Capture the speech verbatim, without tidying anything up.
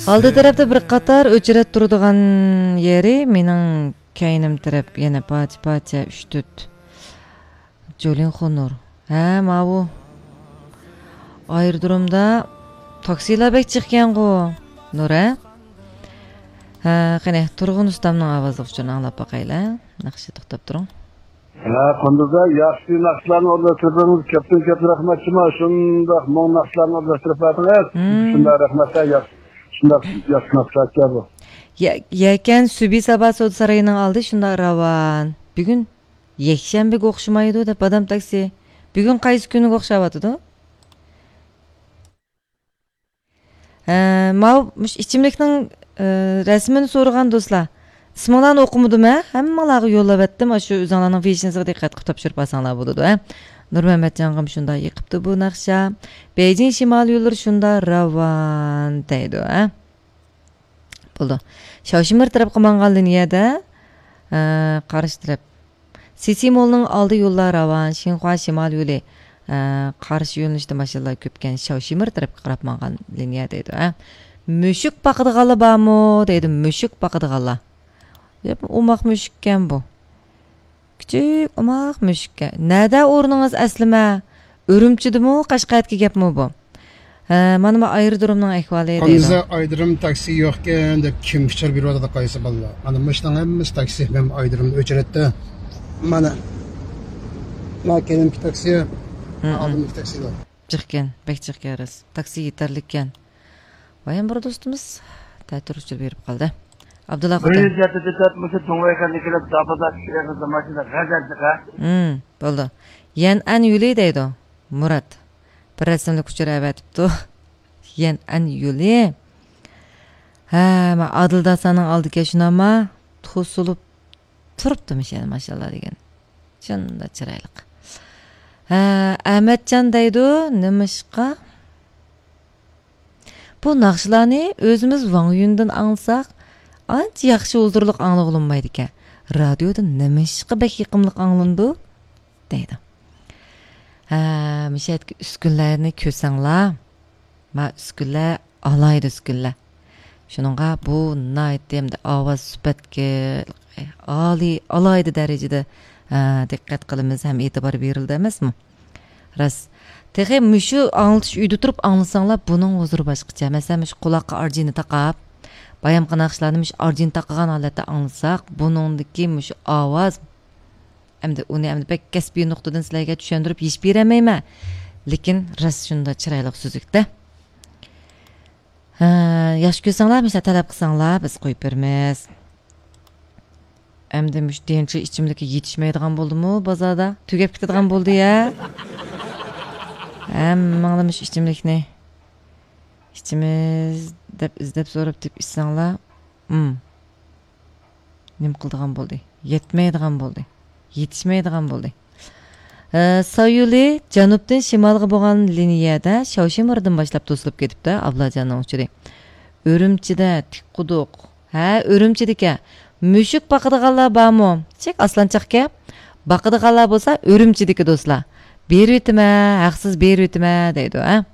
ئالدى تەرەپتە بىر قاتار ئۆچرەت تۇرىدىغان يېرى، مېنىڭ كەينىم تەرەپ يەنە پارچە-پارچە، ئۈچ-تۆت. جولىن خونۇر. ھە، ماۋۇ. ئايرودرومدا تاكسىلار بەك جىقكەنغۇ، نۇر، ھە؟ ھە، قېنى، تۇرغۇن ئۇستامنىڭ ئاۋازلىق ئۇچۇرىنى ئاڭلاپ باقايلى. ناخشا توختاپ تۇرۇڭ. ھە، قۇندۇزدا ياخشى ناخشىلارنى ئورۇنلاشتۇردىڭىز. كۆپتىن كۆپ رەھمەت شۇڭا. شۇنداق مۇڭ ناخشىلارنى ئورۇنلاشتۇرۇپ بەردىڭىز. مم. شۇنداق رەھمەت، ھە، ياخشى. شۇنداق ياخشى ناخشىلار ئىكەن بۇ. يە-، يەكەن سۈبھى سابا سودا سارىيىنىڭ ئالدى شۇنداق راۋان. بۈگۈن يەكشەنبىگە ئوخشىمايدۇ دەپ بادام تاكسى. بۈگۈن قايسى كۈنگە ئوخشاۋاتىدۇ؟ ھە، ماۋۇ مۇشۇ ئىچىملىكنىڭ، ئە، رەسىمىنى سورىغان دوستلار. ئىسمىڭلارنى ئوقۇمىدىم ھە؟ ھەممىڭلارغا يوللاۋەتتىم. ئاشۇ ئۆزۈڭلارنىڭ ۋىژنىسىغا دىققەت قىلىپ تاپشۇرۇپ ئالساڭلار بولىدۇ ھە. نۇرمەمەتجانغىمۇ شۇنداق يېقىپتۇ بۇ ناخشا. بېيجىڭ شىمال يوللىرى شۇنداق راۋان دەيدۇ ھە. بولدى. شاۋشىمىر تەرەپكە ماڭغان لىنىيەدە، ئە، قارشى تەرەپ. سىسى مولنىڭ ئالدى يوللار راۋان، شىنخۇا شىمال يولى، ئە، قارشى يۆنىلىشتە ماشىنىلار كۆپكەن شاۋشىمىر تەرەپكە قاراپ ماڭغان لىنىيە دەيدۇ، ھە. مۈشۈك باقىدىغانلار بارمۇ؟ دەيدۇ، مۈشۈك باقىدىغانلار. ياق، ئوماق مۈشۈككەن بۇ. كىچىك ئوماق مۈشۈككە. نەدە ئورنىڭىز ئەسلىمە؟ ئۈرۈمچىدىمۇ، قەشقەردىكى گەپمۇ بۇ؟ ھە، مانا بۇ ئايرودرومنىڭ ئەھۋالى دەيدۇ. ئاندىزا ئايرودروم تاكسى يوقكەن دەپ كىم ئۇچۇر بېرىۋاتىدۇ قايسى بالىلار؟ مانا مۇشۇنىڭ ھەممىسى تاكسى، مەن ئايرودرومدا ئۆچرەتتە. مانا. مانا كەينىمكى تاكسى، مم. ئالدىمدىكى تاكسىلار. جىقكەن، بەك جىقكەن راست. تاكسى يېتەرلىككەن. ۋايان بىر دوستىمىز تەتۈر ئۇچۇر بېرىپ قالدى. ئابدۇللا بىر خوتەن. يۈز يەتتە تۆت مۇشۇ دۇڭۋەيكەندىكىلەر داپىدا كىرەمىز ماشىنا غەزەپ چىقا. ھىم، بولدى. يەنئەن يولى دەيدۇ. مۇرات. بىر رەسىملىك ئۇچۇر ئەۋەتىپتۇ. يەنئەن يولى. ھە، ما ئادىل داساننىڭ ئالدىكەن شۇناما. توسۇلۇپ تۇرۇپتۇ مۇشۇ يەردە ماشاللا دېگەن. شۇنداق چىرايلىق. ھە، ئەمەتجان دەيدۇ، نېمىشقا؟ بۇ ناخشىلارنى ئۆزىمىز ۋاڭ يۈندىن ئاڭلىساق، ئانچە ياخشى ھۇزۇرلۇق ئاڭلىغىلى بولمايدىكەن. رادىيودا نېمىشقا بەك يېقىملىق ئاڭلىنىدۇ؟ دەيدۇ. ھە، مۇشۇ يەردىكى ئۈسكۈنىلەرنى كۆرسەڭلار، ما ئۈسكۈنىلەر ئالاھىدە ئۈسكۈنىلەر. شۇنىڭغا بۇ ناھايىتى ئەمدى ئاۋاز سۈپەتكە ئالىي، ئالاھىدە دەرىجىدە، ھە، دىققەت قىلىمىز ھەم ئېتىبار بېرىلىدۇ ئەمەسمۇ؟ راست. تېخى مۇشۇ ئاڭلىتىش ئۆيدە تۇرۇپ ئاڭلىساڭلار، بۇنىڭ ھۇزۇرى باشقىچە. مەسىلەن، مۇشۇ قۇلاققا ئارجىنى تاقاپ، بايامقى ناخشىلارنى مۇشۇ ئارجىنى تاقىغان ھالەتتە ئاڭلىساق، بۇنىڭدىكى مۇشۇ ئاۋاز، ئەمدى ئۇنى ئەمدى بەك كەسپىي نۇقتىدىن سىلەرگە چۈشەندۈرۈپ ھېچ بېرەلمەيمەن. لېكىن راست شۇنداق چىرايلىق سۈزۈكتە. ھە، ياخشى كۆرسەڭلار، مۇشۇنداق تەلەپ قىلساڭلار، بىز قويۇپ بېرىمىز. ئەمدى مۇشۇ دىنچى ئىچىملىككە يېتىشمەيدىغان بولدىمۇ بازاردا؟ تۈگەپ كېتىدىغان بولدى يە. ھەممىڭلار مۇشۇ ئىچىملىكنى ئىچىمىز دەپ ئىزدەپ سوراپ تېپىپ ئىچسەڭلار، ئىم، نېمە قىلىدىغان بولدى؟ يەتمەيدىغان بولدى. يېتىشمەيدىغان بولدى. ئە، سايولى جەنۇبتىن شىمالغا بولغان لىنىيەدە شاۋشىمىردىن باشلاپ توسۇلۇپ كېتىپتۇ، ئابلاجاننىڭ ئۇچۇرى. ئۈرۈمچىدە تىك قۇدۇق. ھە، ئۈرۈمچىدىكەن. مۈشۈك باقىدىغانلار بارمۇ؟ چەك ئاسلانچاقكەن. باقىدىغانلار بولسا ئۈرۈمچىدىكى دوستلار. بېرىۋېتىمەن، ھەقسىز بېرىۋېتىمەن دەيدۇ، ھە.